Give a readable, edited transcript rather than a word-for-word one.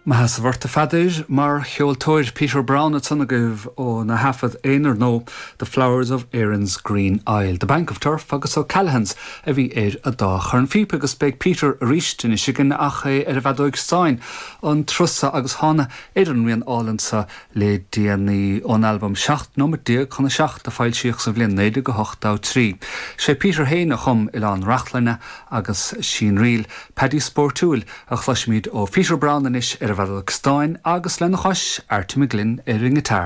Mo sheasamh ort a Pheadair mar cheoltóir, Peter Browne ansan agaibh óna thaifead aonair nó The Flowers of Erin's Green Isle. The Bank of Turf agus O'Callaghan's a bhí ar an dá chornphíopa agus beidh Peter arís anois againn ach é ar an bhfeadóig stáin an turas so agus thána ar an rian álainn so le déanaí ón albam 17 nóimeat chun a 7 a foilsíodh sa bhliain 1983. Sé Peter féin a chum Oileán Reachlainn agus Sí an Ríl Paddy Spóirtiúil a chloisfimid ó Pheter Browne anois ar an bhfeadóg stáin agus lena chois, Arty McGlynn ar an ngiotár.